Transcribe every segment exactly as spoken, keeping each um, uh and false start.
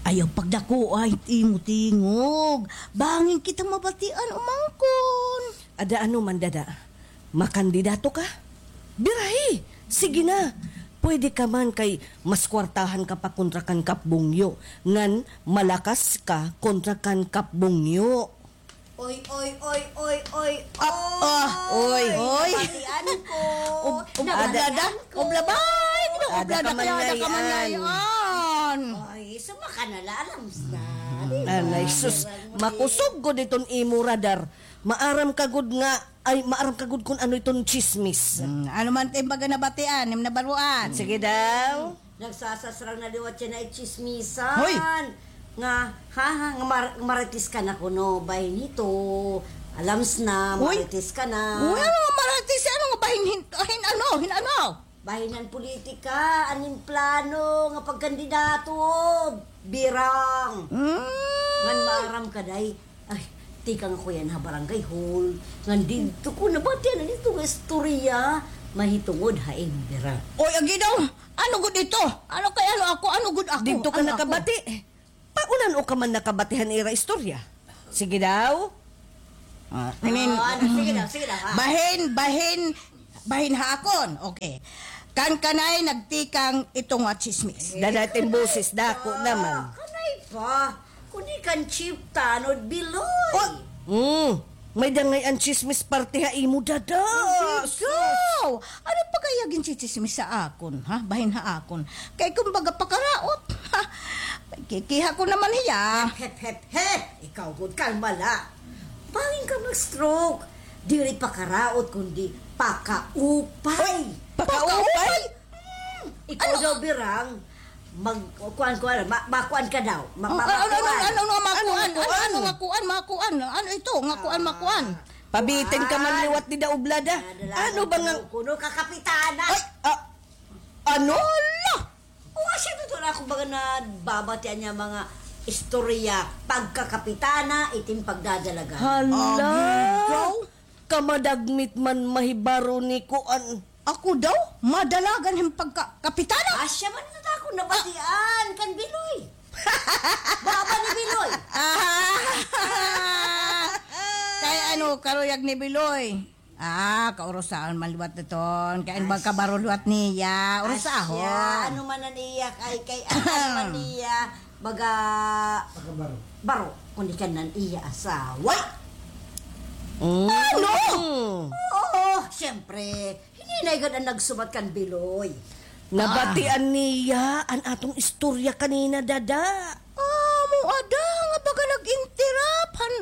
Ayaw pagdakoa it imo tingog. Bangin kita mabatian umangkon. Ada ano man, dada. Makandidato ka? Birahi! Sige na. Pwede ka man kay mas kwartahan ka pa kontra kan Kap Bungyo. Ngan malakas ka kontra kan Kap Bungyo. Oy, oy, oy, oy, oy, Ah, ah, oy. Oy. Nabatian ko. Ub-, ub-, Nabatian ada, ko. Obla, bay, ada obla ka na man kaya, ada ka man ngay-an. Ngay-an. Ay, sumaka na la, alam sa. Anay, sus, makusog gud iton imo radar. Maaram ka gud nga, ay, maaram ka gud kun ano iton tsismis. Hmm, ano man it im baga nabatian, im nabaroan? Sige daw. Nagsasasrang na liwat yana it tsismisan. Hoy! Nga, ha, ha, nga mar-, marites ka na kuno, bahin hito. Alams na, Uy! Marites ka na. Uy, ano nga marites? Ano nga bahin hin-, hin-, ano, hin-, ano? Bahin han politika, an im plano nga pagkandidato, birang. Mm. Ngan maaram ka, day, Ay, tikang ako yana ha barangay hall. Ngan didto ko nabatian an ito nga istorya mahitungod ha imo birang. Oy, agi daw. Ano gud ito? Ano kay ano ako? Ano gud ako? Didto ka nakabati? Paano ka man nakabati han ira istorya? Sige daw. Ah, I mean, Ah, ano, sige daw, sige daw, ha? Bahin, bahin, bahin ha akon. Okay. Kan kanay nagtikang ito nga tsismis. Dada it im boses, dako naman. Ah, kanay pa. Kundi kan Chief Tanod Biloy. Oh! Mm. May-ada ngay-an tsismis parte ha imo, dada. Ikaw! Ano pa kaya gintsitsismis ha akon, ha? Bahin ha akon. Kay kumbaga pakaraot. Ha? Kikiha ko naman hiya. Hep, hep, hep, hep! Ikaw gud, kalma la. Bangin ka mag-stroke. Diri pakaraot, kundi pakaupay. Pakaupay? Pakaupay? Hmm, ikaw daw, birang, mag-, kuan, kuan, ma-, makuan ka daw. Ma-, Oh, ma-, ano, ano, makuan. Ano, ano, makuan? Ano, ano, ano, makuan, makuan? Ano ito? Nga kuan, makuan? Pabitin ka man liwat dida, oblada. Ano ba nga kuno, kakapitana? Ay, ah, ano? Hala! O, asya ito na ako baga nababatian niya mga istorya, pagkakapitana, itin pagdadalagan. Hala! Agigaw! Kamadagmit man mahibaro ni kuan. Ako daw, madalagan hin pagka-, kapitana. Asya man ito ta ako nabatian, kan Biloy. Baba ni Biloy. Ah. Kay ano, karuyag ni Biloy. Ah, kaurusaon man liwat iton. Kay ano ba kabaro liwat niya? Urusahon. Asya, ano man an iya, kay, kay, ano man niya, baga, baro. Kundi kan an iya asawa. Mm. Ano? Oo, siyempre. Hininay gad an nagsumat kan Biloy. Nabatian niya an aton istorya kanina, dada. Amo ada nga baga nag-interrupt han,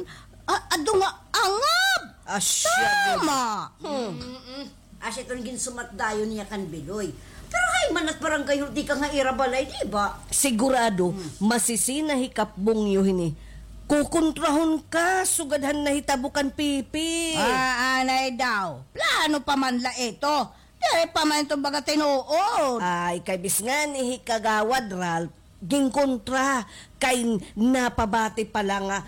a-, ado nga angab. Asya. Tama. Hmm. Mm-mm. Asya iton ginsumat dayon niya kan Biloy. Pero hay man it barangay hall tikang ha ira balay, di ba? Sigurado, masisina hi Kap Bungyo hini. Kukontrahon ka, sugad han nahitabo kan Pipi. Ah, anay daw. Plano pa man la ito. Diri pa man ito baga tinuod. Ay, kay bis ngani hi Kagawad Ralph, ginkontra kay napabati pa la nga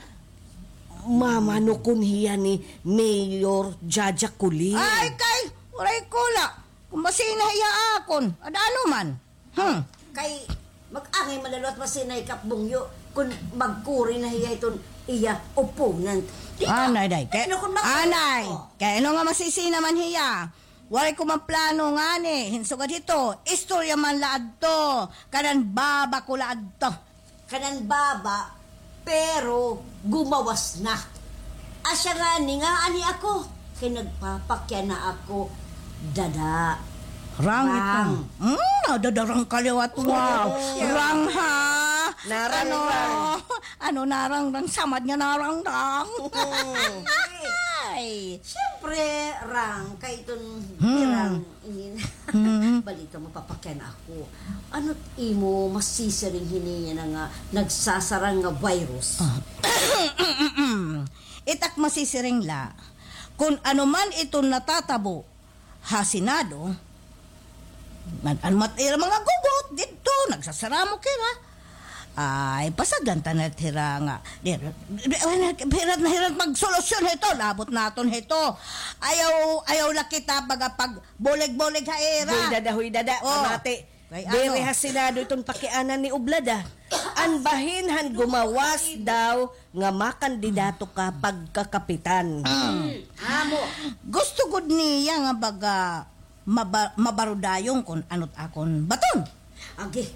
mamanukon hiya ni Mayor Jaja Colin. Ay, kay, waray ko la. Kon masina hiya akon, ada ano man. Hmm. Kay, mag-angay man la liwat masina hi Kap Bungyo, kon magkuri na hiya iton iya opponent. Di ba? Anay, day. Kay, ano kon mag-, anay. Oh. Kay, ano nga masisina man hiya? Waray ko man plano ngani, hin sugad hito, istorya man la adto, kanan baba ko la adto. Kanan baba, pero gumawas na. Asya ngani nga ani ako, kay nagpapakyan na ako, dada. Rang ito. Rang. Hmm, nadadarang ka liwat. Wow. Rang, ha? Narang, ano, rang. Ano, narang, rang, samad nga narang, rang. Ay. Siyempre, rang, kay iton birang. Inin. Balita mo, papakyan ako. Ano it imo masisiring hini yana nga nagsasarang nga virus? Ah. It ak masisiring la, kon ano man iton natatabo ha Senado, nag-ano man it ira mga gugot didto, nagsasaramok hira. Ay, pasagdan ta na hira nga. Di, di, di, hirat na hirat magsolusyon hito, labot naton hito. Ayaw, ayaw la kita baga pag Bulig-bulig ha ira. Huy, dada, huy, dada. Oh. Pamati. Kay ano? Diri ha Senado iton pakianan ni Oblada. An bahin han gumawas daw nga makandidato ka pagkakapitan. Amo. Gusto gud niya nga baga maba-, mabarudayon kon ano't akon baton. Agi,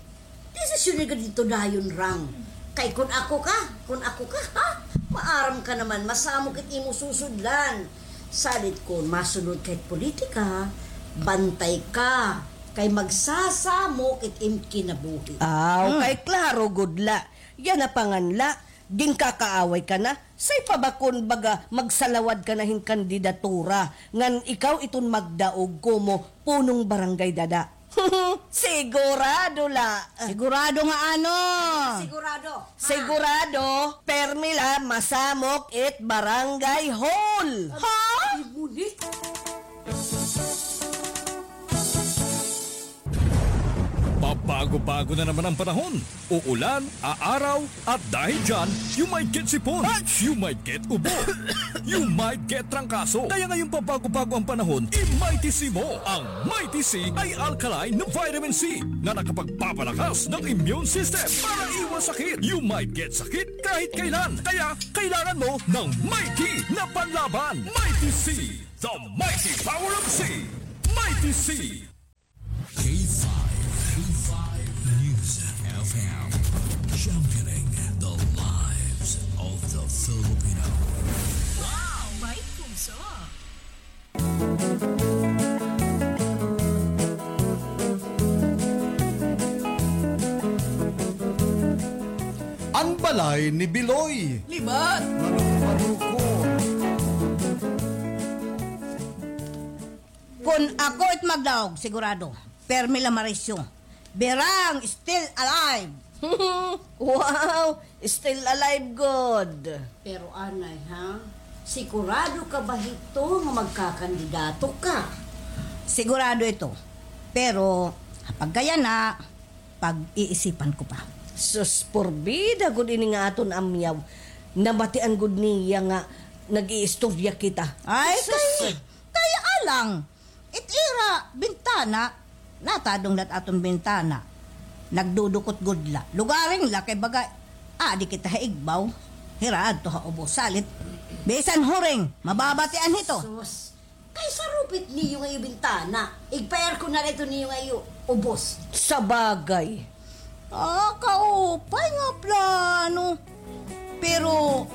desisyon ni gud ito dayon, Rang. Kay kon ako ka, kon ako ka, ha? Maaram ka naman, masamok it imo susudlan. Salit kon masunod ka hit politika, bantay ka. Kay magsasamok it im kinabuhi. Aw, kay klaro gud la. Yana pa ngan la, ginkakaaway ka na. Say pa ba kon baga magsalawad ka na hin kandidatura, ngan ikaw iton magdaog komo punong barangay dada. Sigurado la. Sigurado nga ano? Sigurado. Sigurado, permi la masamok it barangay hall. Ha? Ngunit Pabago-bago na naman ang panahon. Uulan, aaraw, at dahil dyan, you might get sipon, you might get ubo, you might get trangkaso. Kaya ngayong pabago-bago ang panahon, i-Mighty C mo. Ang Mighty C ay alkaline na vitamin C na nakapagpapalakas ng immune system para iwas sakit. You might get sakit kahit kailan. Kaya kailangan mo ng Mighty na panlaban. Mighty C, the mighty power of C. Mighty C. K five, K five News F M, championing the lives of the Filipino. Wow! May puso! An balay ni Biloy. Libat! Manok-manokon. Kon ako it magdaog, sigurado, permi la marisyo. Berang, still alive! Wow! Still alive gud! Pero anay, ha? Sigurado ka ba hito nga magkakandidato ka? Sigurado ito. Pero, pagkayana, pag-iisipan ko pa. Sus, porbida gud ini nga aton amyaw. Nabatian gud niya nga nag-iistorya kita. Ay, sus, kay, kay alang. It ira bintana, natadong la it aton bintana. Nagdudukot gud la. Lugaring la kay baga, adi kita ha igbaw. Hira adto ha ubos. Salit, bisan huring, mababatian hito. Sus, kay sarupit niyo nga iyo bintana. Igpa-aircon na la ito niyo nga iyo ubos. Sabagay. Ah, kaupay nga plano. Pero,